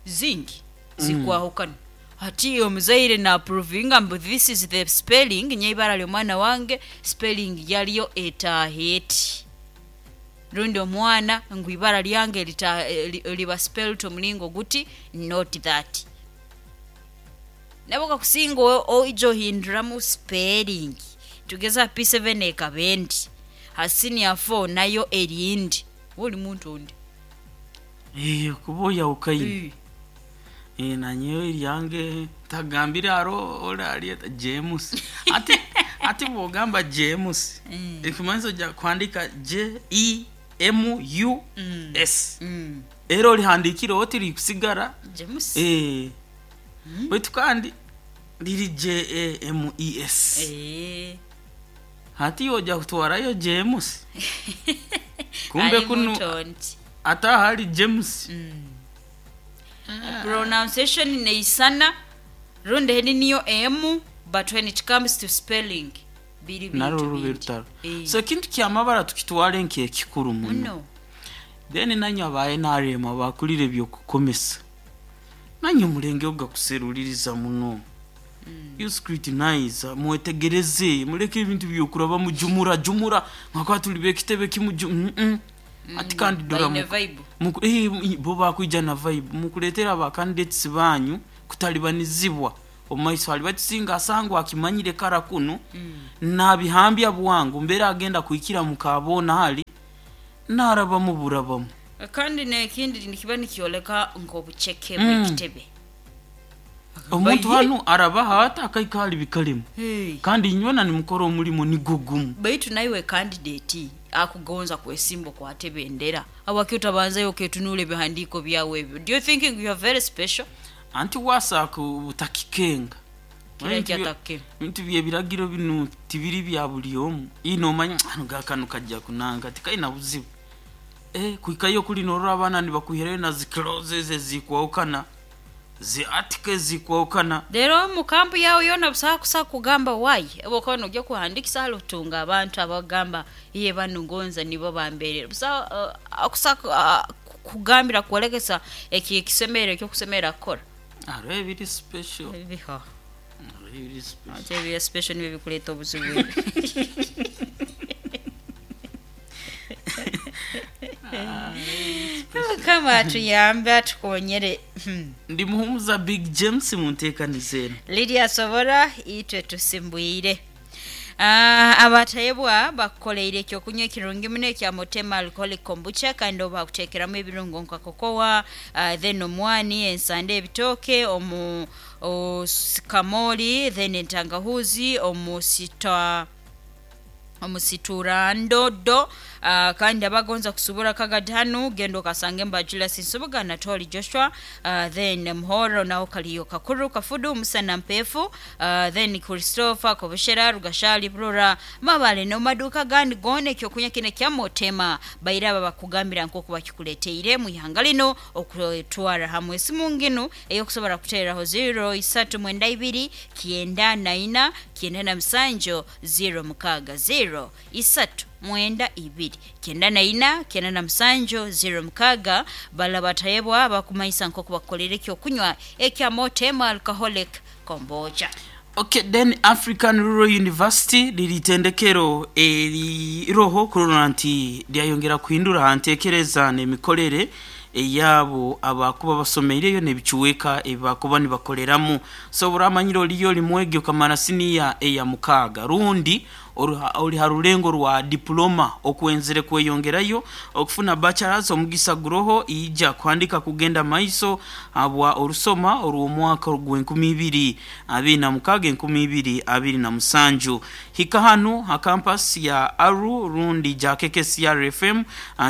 Speaker 2: zingi zikwahukana. Hati omuzaire naaprovinga mbu this is the spelling nye ibara ly'omwana wange spelling yalyo etaaha eti rundi omwana ngu ibara lyange lita- eh, li- liba spelled omulingo guti not that nabo kakusinga o- oija ohinduramu spelling tugeza P seven ekaba endi ha senior four nayo erindi oli muntu ondi.
Speaker 1: Eh, kuba oyawukaine. Eh, nanyewe eryange ntagambire haro oralyeta James ati ati bwogamba James ekimanyiso ja kuhandika J E M U S.
Speaker 2: Mm.
Speaker 1: Era olihandikire oti likusigara.
Speaker 2: James.
Speaker 1: Eh, baitu kandi liri J A M E S.
Speaker 2: Eh.
Speaker 1: Hati oja kutwarayo James kumbe
Speaker 2: Ali
Speaker 1: kunu
Speaker 2: muntu ondi.
Speaker 1: ata hali James.
Speaker 2: Pronunciation neisana rundi heni niyo m but when it comes to spelling biri
Speaker 1: Narwo
Speaker 2: bintu
Speaker 1: rube
Speaker 2: bindi.
Speaker 1: rutaro.
Speaker 2: Eh.
Speaker 1: So ekintu kyamabara tukitwale nk'ekikuru muno.
Speaker 2: Muno.
Speaker 1: Then nanywe aba N R M abakulire ebyokukomesa nanywe omulenge ogakuseruliriza muno. You scrutinize mwetegereze muleke ebintu byokuraba mujumura jumura nka tuli bekitebe kimu ju- mm -mm. Ati kandi dora
Speaker 2: Baine
Speaker 1: muku-
Speaker 2: vibe.
Speaker 1: muku- eh, bo bakwija na vibe mukuletera aba candidates banyu kutalibanizibwa omumaiso hali bakisinga asangwa akimanyire kara kuno nabihambya bwangu mbere agenda kuikira mukabona hali narabamu burabamu.
Speaker 2: Kandi nekindi nikiba nikyoleka nk'obuceke
Speaker 1: Mm.
Speaker 2: bw'ekitebe.
Speaker 1: Omuntu
Speaker 2: Bayi-
Speaker 1: hanu arabaha ata akaikali bikalemu.
Speaker 2: Hey.
Speaker 1: Kandi inywena nimukora omulimo nigwo gumu.
Speaker 2: Baitu naiwe candidate akugonza kwesimba okwate bendera awaki otabanzayo oketunula ebihandiiko byawe ebyo. Do you thinking you are very special?
Speaker 1: Anti wasaaka obutakikenga.
Speaker 2: Kira
Speaker 1: Ebintu bye-
Speaker 2: ekyatakikenga.
Speaker 1: ebintu byebiragiro bino tibiri bya buli omu ino omanya ano gakano kajja kunanga tikaina buzibu. Eh, kuikayo kuli norora abaana nibakuhirayo na zicloses ezikwawukana zi article zikwawukana.
Speaker 2: Rero mu kampu yawe yona busaha kusa kugamba wayi oba nojja kuhandikisa hali otunga abantu abagamba iye bano ngonza nibo bamberera busaha uh, akusa uh, kugambira kwolekesa eki ekisemero ekyokusemera kukora.
Speaker 1: Hariho ebiri special.
Speaker 2: Biho.
Speaker 1: Hariho ebiri special.
Speaker 2: Ate ebya special nibyo bikuleeta obuzibu ebyo. Mukama atuyambe atukonyere. Hmm.
Speaker 1: Ndi muhumuza Big James munteekaniza eno.
Speaker 2: Lydia Sobora itwe tusimbwire. Ah, abatayebwa bakukoleire ekyokunywa ekirungi muno ekya Motema alcoholic kombucha kandi oba bakuteekeramu ebirungo nka kokowa uh, then omwani ensande ebitooke omu kamoli then entangahuzi omusita omusiturandodo uh, kandi abagonza kusubura kagadhanu genda okasange mba Julius Nsubuga na Tori Joshua uh, then Muhoro naho kaliyo kakuru kafudu musana mpefu uh, then Christopher Kobushera Rugashali Brora Mabale no maduka gandi gone ekyokunywa kine kya Motema baira aba bakugambira nk'oku bakikuleteire mu ihanga lino okutwara hamwe esimu nginu eyokusobora kuteeraho zero isatu mwenda ibiri kyenda na ina kyenda na musanju zero mukaaga zero isatu mwenda ibiri kenda na ina kenda na musanju zero mukaga bala batayebwa bakumanyisa nk'oku bakukolera ekyokunywa ekya Motema alcoholic kombucha.
Speaker 1: Okay, then African Rural University liritendekero eriroho kurora nti lyayongera kuhindura hantekereza n'emikorere eyabo abakuba basomeireyo n'ebicuweka ebibakuba nibakoreramu. So buramanyiro liyo limwegi okamara siniya eya mukaaga rundi ori ha rulengo rwa diploma okwenzere kweyongerayo okufuna bachelors omugisa guroho ija kuhandika kugenda maiso abwa orusoma orw'omwaka gw'enkumi ibiri abiri na mukaaga enkumi ibiri abiri na musanju. Hika hanu ha campus ya Aru rundi ja K K C R F M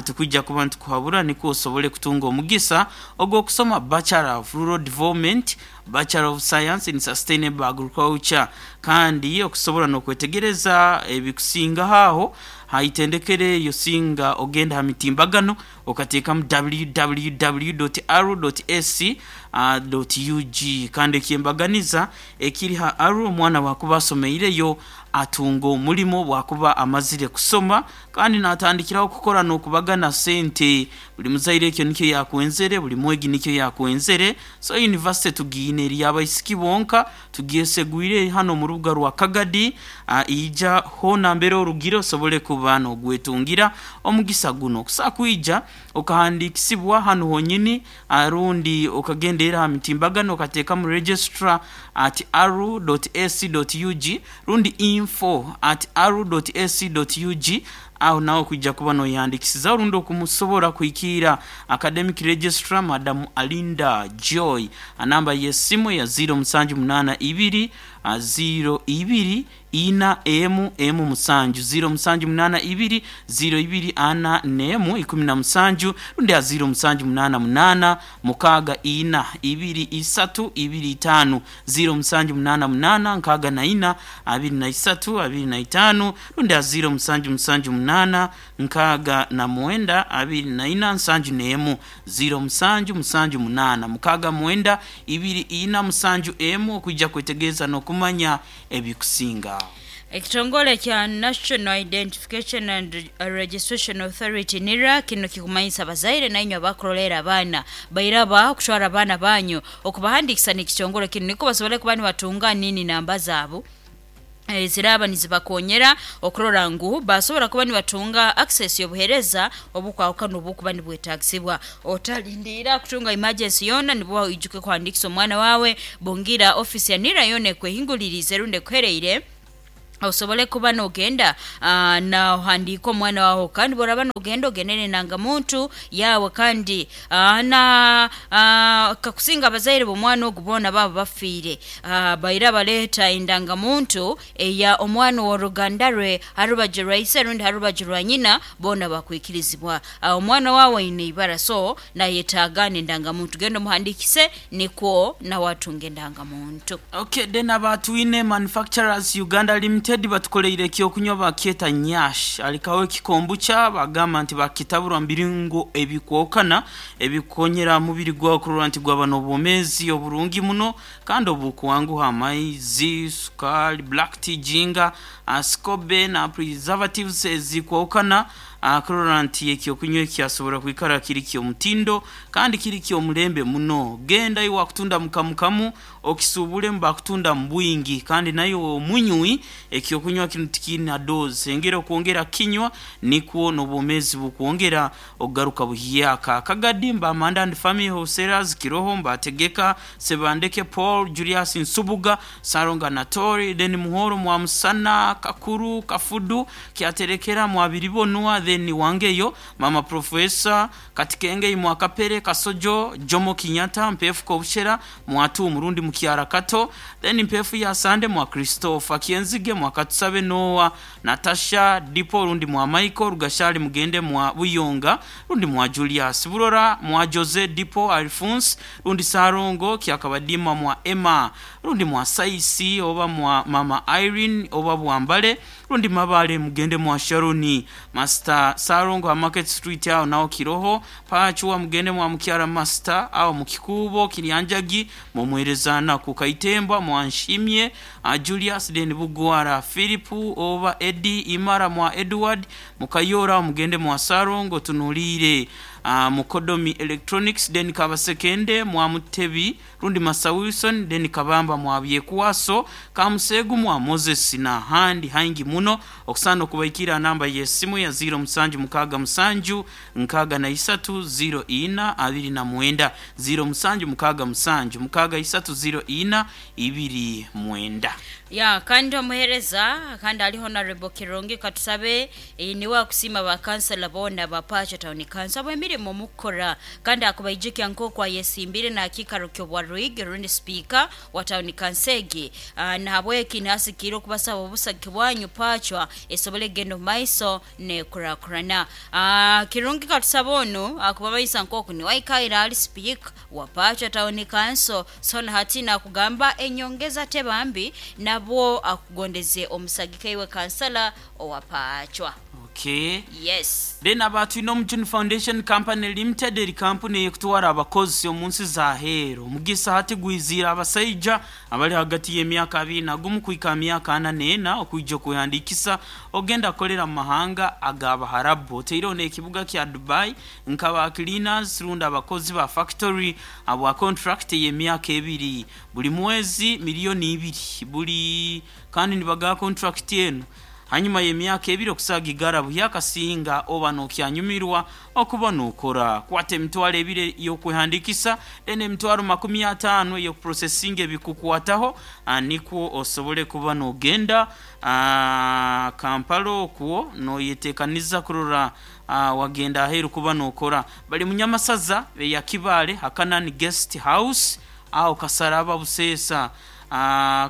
Speaker 1: tukwijja kuba ntukuhabura niko osobole kutunga omugisa ogw'okusoma Bachelor of Rural Development, Bachelor of Science in Sustainable Agriculture, kandi okusobola n'okwetegereza ebikusinga haho haitendekere yosinga ogenda ha mitimbagano okateekamu w w w dot aru dot a c dot u g. Kandi ekyembaganiza ekiri ha Aru, omwana wakuba asomeireyo atunga omulimo bwakuba amazire kusoma kandi natandikiraho kukora n'okubagana sente. Buli muzaire ekyo nikyo yakwenzere, buli mwegi nikyo yakwenzere. So university tugiine eri abaisiki bonka tugyesegwire hano mu rubuga rwa Kagadi, uh, ija hona mbere orugire osobole kuba n'ogwetungira omugisa guno kusa kwija okahandikisibwa hano honyini arundi okagendera ha mitimbagano okateekamu registrar at aru dot a c dot u g rundi info at aru dot a c dot u g. Aho nawe kujja kuba noyandikisiza orundi okumusobola kuikira academic registrar Madam Alinda Joy. Anamba y'essimu ya zero musanju munana ibiri zero ibiri ina emu emu musanju zero musanju munana ibiri zero ibiri ana nemu ikumi na musanju rundi ya zero musanju munana munana mukaga ina ibiri isatu ibiri itanu zero musanju munana munana nkaga na ina abiri na isatu abiri na itanu rundi ya zero musanju musanju munana nkaga na mwenda abiri na ina nsanju nemu zero musanju musanju munana mukaga mwenda ibiri ina musanju emu okujja kwetegereza n'okumanya ebikusinga.
Speaker 2: Ekitongole kya National Identification and Registration Authority NIRA kino kikumanyisa abazaire na inywe abakurolera abaana bairaba kutwara abaana banyu okubahandikisa n'ekitongole kino niko basobole kuba nibatunga nini namba zaabo ziraba nizibakonyera okurora ngu basobora kuba nibatunga access y'obuhereza obukwawukana obukuba nibwetagisibwa. Otalindira kutunga emergency yona nibwo ijuke kuhandikisa omwana wawe bongira office ya NIRA yona ekwehingulirize runde kuhereire osobole kuba nogenda uh, na uhandika omwana wawe kandi boraba nogenda ogenere nanga muntu yawe kandi uh, na uh, kakusinga abazaire b'omwana ogu boona baba bafiire uh, baira baleeta endanga muntu eya omwana w'oruganda rwe harubaju rwa ise rundi harubaju rwa nyina boona bakwikirizibwa. uh, omwana wawe aine ibara so nayetaaga n'endanga muntu, genda omuhandikise nikwo nawe atunge endanga muntu.
Speaker 1: Okay, then abatwine Manufacturers Uganda Limited batukoleire ekyokunywa bakyeta nyash alikawo ekikombucha bagamba nti bakitabura mbiringo ebikwokana ebikonyera mubiri gwawe kurora nti gwaba n'obwomezi oburungi muno kandi obukuwanguha amaizi, sukali, black tea, jinga, ascobe na preservatives ezikwokana akurora nti ekyokunywa ekyasobora kwikara kiri ky'omutindo kandi kiri ky'omulembe muno. Genda iwe wakutunda mukamukamu okisubule mbakutunda mbwingi kandi nayo omunywi ekyokunywa kino tikina dose engera okwongera kinywa nikwo n'obwomezi bukwongera ogaruka buhiyaka. Kagadi mba Amanda and Family Wholesalers Kiroho mbategeka Sebandeke Paul Julius Nsubuga Saronga Natori then Muhoro mwa Musana Kakuru Kafudu Kyaterekera mwa Biribonwa then Wangeyo Mama Professor Katikenge mwa Kapere Kasojo Jomo Kenyatta Mpefu Kobushera mwatu Murundi Mukiara Kato then Mpefu ya Sande mwa Christopher Kienzige mwa Katusabe Noah Natasha Dipo rundi mwa Michael Rugashali Mugende mwa Buyonga rundi mwa Julius Burora mwa Jose Dipo Alphonse rundi Sarongo Kyakabadima mwa Emma rundi mwa Saisi oba mwa Mama Irene oba Bwambale rundi Mabale Mugende mwa Sharoni Master Ka Sarongo Market Street aho naho kiroho. Pachuwa mugende mwa mukyara master aho mukikubo Kiryanjagi mumwerezana ku Kaitembwa mwanshimye uh, Julius den Bugwara Philip oba Eddie Imara mwa Edward mukayora mugende mwa Sarongo tunulire uh, Mukodomi Electronics den Kabasekende mwa Mutebi rundi Masa Wilson den Kabamba mwa Byekwaso Kamusegu mwa Moses na handi hangi muno. Okusana okubaikira namba yesimu ya ziro musanju mukaga musanju nkaga na isatu ziro ina abiri na mwenda ziro musanju mukaga musanju mukaga isatu ziro ina ibiri mwenda.
Speaker 2: Ya kandi omuhereza kandi ali Honorable Kirongi katusabe e, niwe akusima ba councilor bona ba Pacha Town Council abo emirimo mukora kandi akubaijukya nk'okwa yesimbire na akikaro ky'obwa Ruigi rundi speaker wa Town Council nahabweki nasikire okubasaba obusagi bwanyu Pachwa esobole gendo maiso ne kurakurana. Kirungi katusaba ono akubabaisa nk'oku niwe aikaire ali speaker wa Pacha Town Council so hati nakugamba enyongeza tebambi nabwo akugondeze omusagike iwe kansala owa Pachwa.
Speaker 1: Okay.
Speaker 2: Yes.
Speaker 1: Then abantu ino Mjuni Foundation Company Limited eri kampuni ekutwara abakozi omunsi za hero mugisa hati gwizira abasaija abali hagati y'emyaka abiri na gumu kuhika myaka ana n'ena okuija kuhandikisa ogenda kolera mu mahanga ag'Abaharabu. Oteire n'ekibuga kya Dubai nkaba cleaners runda abakozi ba factory abwa contract y'emyaka ebiri buli mwezi miliyoni ibiri buli kandi nibaga contract eno hanyuma y'emyaka ebiri okusaga igarabu yakasinga oba nokyanyumirwa okuba nokora kwata emitwalo ebiri y'okwehandikisa then emitwalo makumi ataano y'okuprocesinga ebikukwataho nikwo osobole kuba nogenda Kampala okwo noyetekaniza kurora wagenda aheru kuba nokora. Bali Munyamasaza ya Kibale Hakanani Guest House aho Kasaraba Busesa. Uh,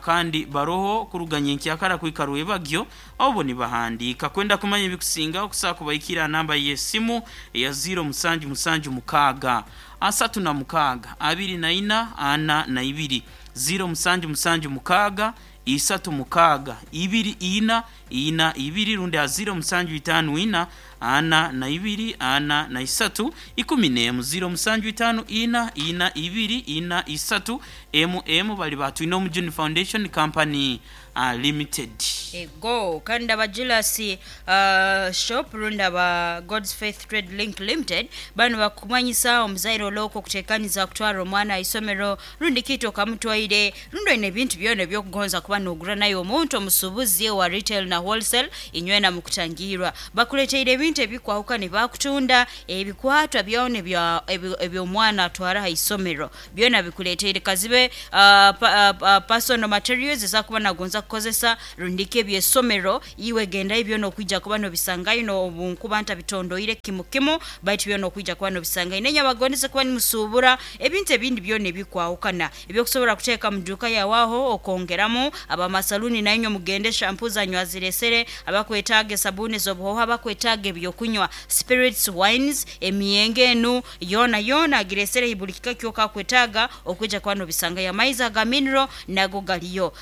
Speaker 1: kandi baroho kuruganya enkyakara kwikaruwe bagyo obo nibahandika kwenda kumanya ebikusinga okusaba kubaikira namba y'esimu ya ziro musanju musanju mukaga asatu na mukaga abiri na ina ana na ibiri ziro musanju musanju mukaga isatu mukaga ibiri ina ina ibiri rundi ziro musanju itanu ina ana na ibiri ana na isatu ikumi n'emu ziro musanju itanu ina ina ibiri ina isatu emu emu bali batu ino Mujuni Foundation Company uh, Limited.
Speaker 2: Ego kandi abajilasi uh, shop runda ba God's Faith Trade Link Limited bano bakumanyisa omuzaire oloko kutekaniza kutwara omwana isomero rundi kito kamutwaire rundi ine bintu byona ebyokugonza kuba nogura nayo omuntu omusubuzi wa retail na wholesale inywena mukutangirwa bakuleteire ebintu ebikwahuka ne bakutunda ebikwatwa byone bya ebyomwana atwara ha isomero byona bikuleteire kazibe uh, pa, uh, personal materials ezakuba nagonza kukozesa rundike byesomero iwe genda ibyo no kwijja kuba no bisangayo no bunkuba nta bitondoire kimu kimu baitu byo no kwijja kuba no bisangayo nenya bagondeze kuba ni musubura ebintu ebindi byo ne bikwahukana ebyo kusobora kuteeka muduka yawaho okongeramu abamasaluni nanyo mugende shampoo zanyu aziresere abakwetaage sabuni zobuhoha abakwetaage byokunywa spirits wines emiyenge enu yona yona agiresere ibulikika kyoka kwetaga okwijja kuba no bisangayo amaiza ga mineral nago galiyo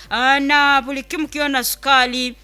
Speaker 2: na buli kimu kiona sukali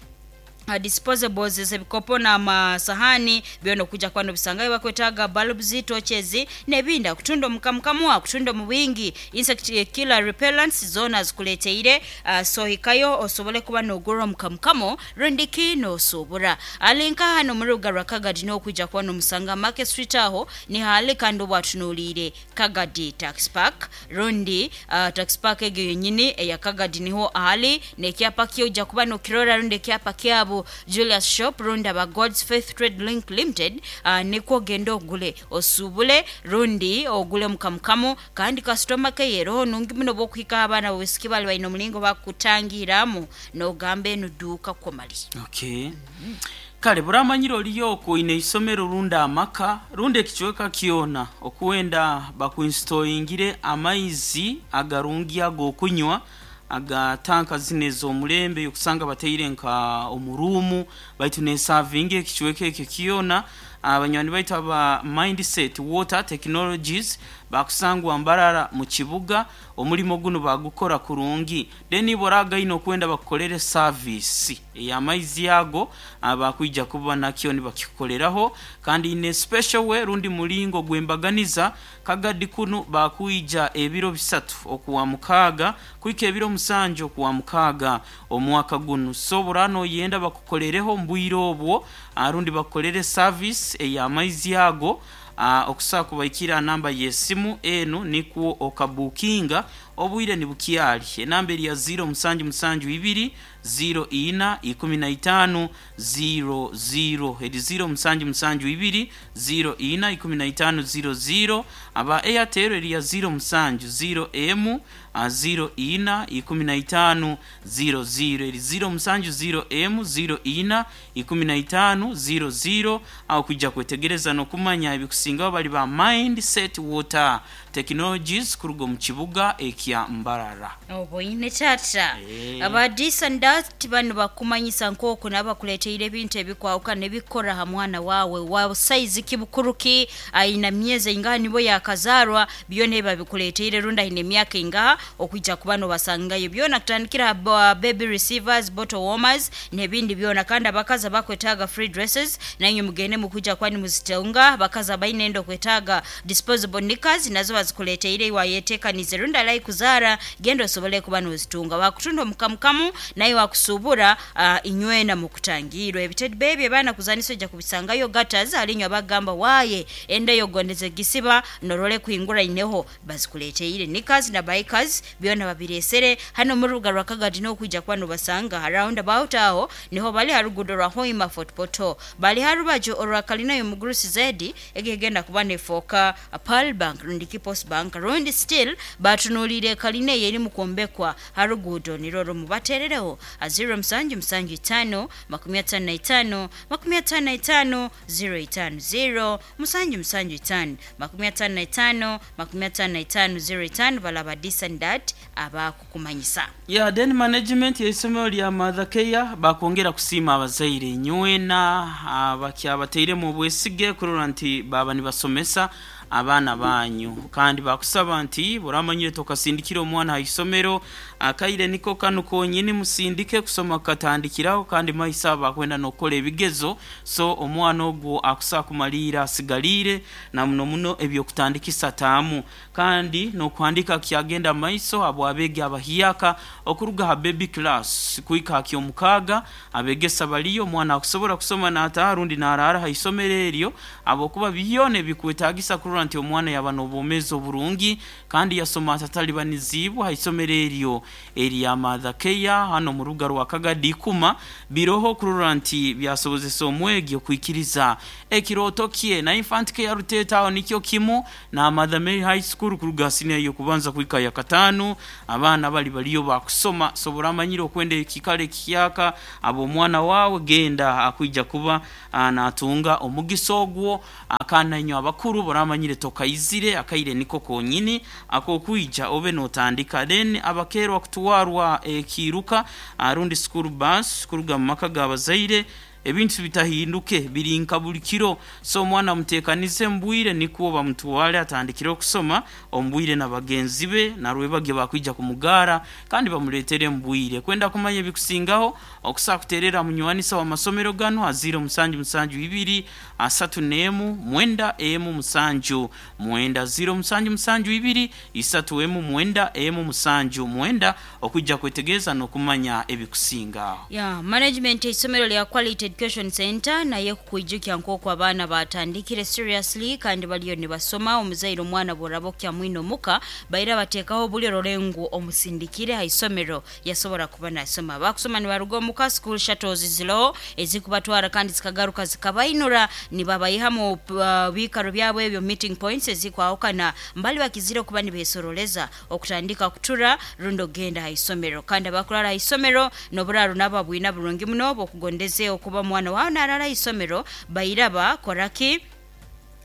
Speaker 2: Uh, disposables zebikopo na masahani byono kuja kwano bisangayo bakwetaga bulbs torches nebinda kutunda mukamukamwa kutunda mu wingi insect killer repellents zona zikuleteire uh, so hikayo osobole kuba nogura mukamukamo rundiki no sobora alinka hano muri rugarwa Kagadi no kuja kwano musanga Market Street aho ni hali kandi bwatunulire Kagadi Tax Park rundi uh, Tax Park egyo yenyini eya Kagadi niho ahali nekyapa kyo ja kuba no kirora rundi kyapa kyabo Julius Shop runda ba God's Faith Trade Link Limited uh, nikwo gendo ogule osubule rundi ogule mukamukamu kandi customer care roho nungi muno bokuhika abana bosiki bali balina omulingo bakutangiramu nogambe nuduka komali.
Speaker 1: Okay. Mm -hmm. Kale buramanyiro liyoko ine isomero runda amaka runde ekichweka kiona okuwenda bakuinstallingire amaizi agarungi agokunywa aga tanka zine z'omulembe yokusanga bateire nka omurumu baitu ne savinge ekichweka ekyo kiona abanywani baitu aba Mindset Water Technologies Bakusangwa Mbarara mu kibuga. Omulimo guno bagukora kurungi. Then boragaino kwenda bakukolere service ey'amaizi ago, abakwija kuba nakyo nibakikoleraho, kandi in special way rundi mulingo gwembaganiza. Kagadi kuno bakwija ebiro bisatu okuwa mukaaga kuika ebiro musanju okuwa mukaaga omwaka guno. So burano yenda bakukolereho mbwire obwo, arundi bakukolere service ey'amaizi ago, uh, okusobola kubaikira namba y'esimu enu nikwo okabukinga obwire nibukyali. Enamba eri ya ziro musanju musanju ibiri ziro ina ikumi na itano ziro ziro, eri ziro musanju musanju ibiri ziro ina ikumi na itano ziro ziro. Aba Airtel eri ya ziro musanju ziro emu ziro ina ikumi na itano ziro ziro, eri ziro musanju ziro emu ziro ina ikumi na itano ziro ziro. Aho kujja kwetegereza n'okumanya ebikusingaho bali ba Mindset Water Technologies kuruga mu kibuga ekya Mbarara.
Speaker 2: Oboine tata.
Speaker 1: Eh.
Speaker 2: Aba Disandat bano bakumanyisa nk'oku nabakuleteire ebintu ebikwawuka nebikora ha mwana wawe wa size kibukuruki aina myezi ingaha nibo yakazarwa, byona ebabikuleteire runda ine emyaka ingaha okwijja kuba nobasangayo byona, kutandikira ha baby receivers, bottle warmers n'ebindi byona. Kandi abakazi abakwetaaga free dresses nainywe mugende mukwijja kuba nimuzitunga. Abakazi abaine enda okwetaaga disposable knickers nazo bazikuleteire, iwayetekanize runda alai kuzara genda osobole kuba nozitunga. Bakutunda omukamukamu naye wakusubura uh, inywena mukutangirwa ebitedi bebi abaana kuzanisa ojja kubisangayo. Gatas alinywa bagamba waye enda yogondeze gisiba norole kuhingura ineho, bazikuleteire knickers na bikers byona babiresere hano mu rubuga rwa Kagadi n'okwijja kuba nobasanga round about aho niho bali harugudo rwa Hoima Fort Portal, bali harubaju orwa kalina y'omugurusi zedi egegenda kuba nefoka Pearl Bank rundi Post Bank rundi still batunulire kalina eri mukombekwa harugudo niroro. Mubaterereho a zero musanju musanju itano makumi atano na itano makumi atano na itano zero itano, zero musanju musanju itano makumi atano na itano makumi atano na itano zero itano. Balaba Disandat abakukumanyisa.
Speaker 1: Ya then management y'isomero lya Mother Care bakwongera kusiima abazaire nywena abakyabateiremu obwesige kurora nti baba nibasomesa abaana banyu, kandi bakusaba nti buramanyire tokasindikira omwana ha isomero, akaire niko kanu konyini musindike kusoma katandikiraho, kandi maisa bakwenda nokola ebigezo. So omwana ogwo akusa kumalira asigalire na muno muno ebyokutandikisa taamu kandi nokuhandika kyagenda maiso. Abo abegi abahiyaka okuruga ha baby class kuika akyomukaga abegesa baliyo, omwana akusobora kusoma n'ataha rundi n'arara ha isomero eryo, abokuba byona ebikwetagisa kurora nti omwana yaba n'obwomeezi oburungi kandi yasoma atatalibanizibwa ha isomero eryo erya Mother Care hano mu rubuga rwa Kagadi ikuma biroho kurora nti byasobozesa omwegi okwikiriza ekiroto kye. Na Infant Care Ruteta aho nikyo kimu na Mother Mary High School kuruga senior yokubanza kuika ya katano, abaana bali baliyo bakusoma. Sobora amanyire okwenda ekikale kiyaka abo omwana wawe genda akwija kuba natunga omugisa ogwo. Akana inyo abakuru boramanyire tokaizire akaire niko konyini akokwija obe notandika. Then abakerwa kutuwarwa ekiruka arundi school bus kuruga mu maka gabazaire, ebintu bitahinduke birinka buli kiro. So omwana mutekanize mbwire nikuwo bamutwale atandikire okusoma ombwire na bagenzi be narwebage bakwija kumugara kandi bamuletere mbwire. Kwenda kumanya ebikusingaho okusa kuterera munywanisa wa masomero gano aziro musanju musanju ibiri asatu nemu mwenda emu musanju mwenda, ziro musanju musanju ibiri isatu emu mwenda emu musanju mwenda okujja kwetegereza n'okumanya ebikusingaho.
Speaker 2: Ya management isomero lya Quality Education Center naye kukwijukya nk'oku abaana batandikire seriously kandi baliyo nibasoma. Omuzaire omwana bw'oraba mwino muka baira bateekaho buli rolengu omusindikire ha isomero yasobora kuba nasoma. Bakusoma nibaruga omuka, school shuttles zilo ezikubatwara kandi zikagaruka zikabainura nibabayiha mu uh, bikaro byabwe ebyo meeting points ezikwawukana mbali bakizire okuba nibesoroleza okutandika kutura rundo genda ha isomero. Kandi abakurara ha isomero noburaro nababwina burungi muno bokugondeze okuba mwana wawe narara isomero bairaba koraki.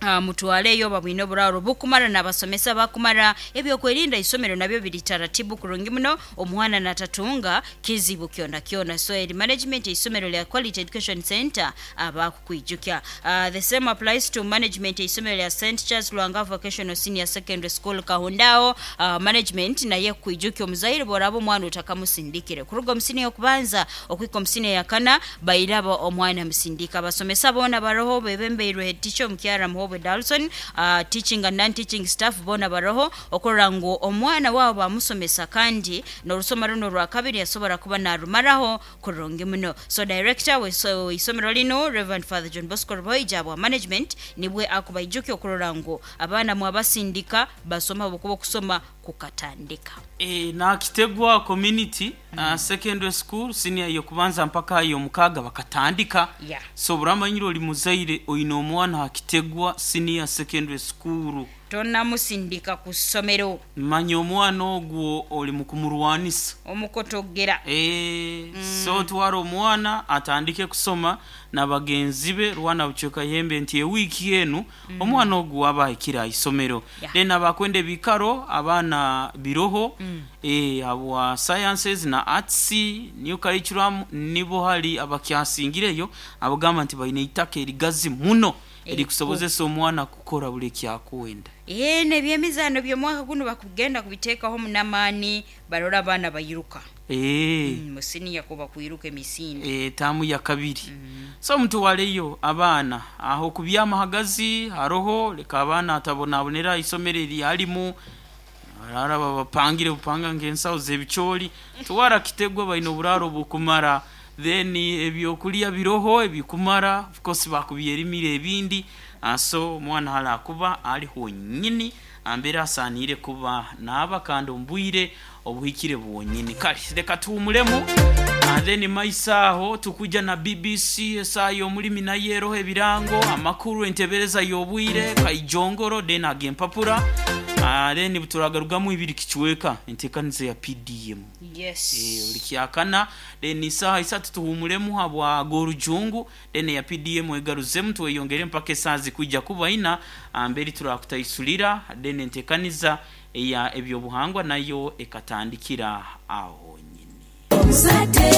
Speaker 2: Uh, mutwaleyo babwine oburaro bukumara n'abasomesa bakumara, ebyokwerinda isomero nabyo biri taratibu kurungi muno, omwana natatunga kizibu kyona kyona. So eri management isomero lya Quality Education Center abakukwijukya. Uh, the same applies to management isomero lya Saint Charles Lwanga Vocational Senior Secondary School Kahundao. Uh, management naye kwijukya omuzaire boraba omwana otakamusindikire kuruga omusini okubanza okwika omusini yakana bairaba omwana musindika. Abasomesa bona baroho bebembeirwe head teacher omukyara Muhobwe Dalson, uh, teaching and non-teaching staff bona baroho okorora ngu omwana wabo bamusomesa kandi n'orusoma runo rwa kabiri yasobora kuba narumaraho kurungi muno. So director we so isomero lino Reverend Father John Bosco Ruboija wa management nibwe akubaijuki okurora ngu abaana mwabasindika basoma bukuba okusoma kukatandika.
Speaker 1: E, na Kitegwa Community mm. uh, Secondary School senior yokubanza mpaka yo mukaga bakatandika.
Speaker 2: Yeah.
Speaker 1: So buramanyiro oli muzaire oyina omwana ha Kitegwa Senior Secondary School
Speaker 2: tonamusindika ku ssomero,
Speaker 1: manya omwana ogwo oli mukumurwanisa
Speaker 2: omukotogera.
Speaker 1: E, mm. So twara omwana atandike kusoma na bagenzi be rwana buchoka yembe nti ewiiki enu mm. omwana ogwo abahikira isomero.
Speaker 2: Yeah.
Speaker 1: Then abakwende bikaro abaana biroho
Speaker 2: mm.
Speaker 1: e, abwa sciences na arts new curriculum nibo hali abakyasingireyo abagamba nti balina itaka erigazi muno erikusobozesa omwana kukora buli kyakwenda.
Speaker 2: Eh, nebyemizano by'omwaka guno bakugenda kubiteekaho munamaani barora abaana bayiruka.
Speaker 1: Eh.
Speaker 2: Mm, musini yakuba kuyiruka emisinde.
Speaker 1: Eh, tamu ya kabiri.
Speaker 2: Mm.
Speaker 1: So mutwaleyo abaana aho kubyamahagazi haroho leka abaana atabonabonera isomero eryalimu arara babapangire bupanga ng'ensawo z'ebicooli twara Kitegwa balina oburaro bukumara, then ebyokulya biroho ebikumara, of course bakubyerimire ebindi. Uh, so omwana hala kuba ali honyini ambera asanire kuba naaba kandi ombwire obuhikire bwonyini. Kale reka tuwumulemu uh, then maisaho tukuja na B B C esaa y'omulimi nayo eroho ebirango amakuru entebereza y'obwire kaijongoro then agempapura. Uh, then turagarugamu ibiri kichweka entekanizo ya P D M.
Speaker 2: Yes.
Speaker 1: Eh, ulikyakana then isaha isatu tuhumulemu habwa gorujungu then ya P D M egaruzemu tweyongere mpaka esazi kujja kuba ina amberi turakutaisulira then entekaniza ya ebyobuhangwa nayo ekatandikira aho nyini.
Speaker 3: Muzadde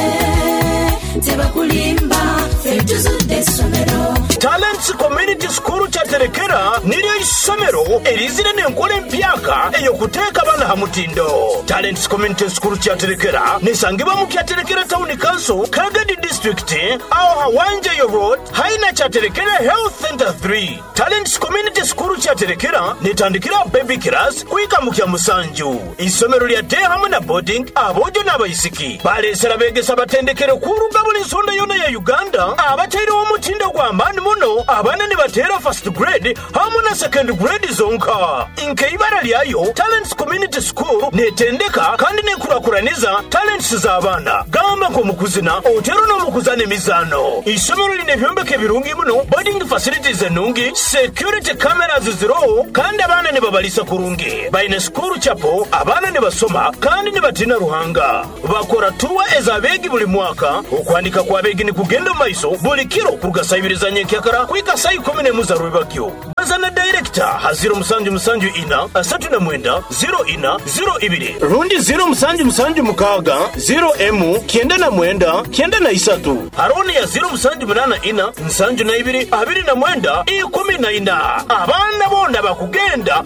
Speaker 3: tebakulimba ffe tuzudde essomero.
Speaker 4: Talents Community School Kyaterekera niryo isomero erizire n'enkola empyaka ey'okuteeka abaana ha mutindo. Talents Community School Kyaterekera nesangibwa mu Kyaterekera Town Council, Kagadi District, aho Hawanjeyo Road, haina Kyaterekera Health Center three. Talents Community School Kyaterekera netandikira baby class kuika mu kya musanju. Isomero lya day hamwe na boarding abojo n'abayisiki balesera begesa batendekere kuruga buli nsonda yona ya Uganda abatairewo omutindo gw'amaani muno abaana ne bateera first grade hamwe na second grade zonka. Nkeibara lyayo Talents Community School netendeka kandi nekurakuraniza talents z'abaana gamba nk'omukuzina otero n'omukuzana emizaano. Isomero lina ebyombeko ebirungi muno, boarding facilities ennungi, security cameras ziroho kandi abaana ne babalisa kurungi. Balina school chapel abaana ne basoma kandi ne batina Ruhanga. Bakora tuwa ez'abeegi buli mwaka. Okwandika kw'abeegi ni kugenda omu maiso buli kiro kuruga saa ibiri za nyenkyakara kuhika saa ikumi n'emu za rwebagyo. Baza na director ha zero musanju musanju ina asatu na mwenda zero ina zero ibiri rundi zero musanju musanju mukaaga zero emu kyenda na mwenda kyenda na isatu haroni ya zero musanju munana ina nsanju na ibiri abiri na mwenda ikumi na ina. Abaana bona bakugenda.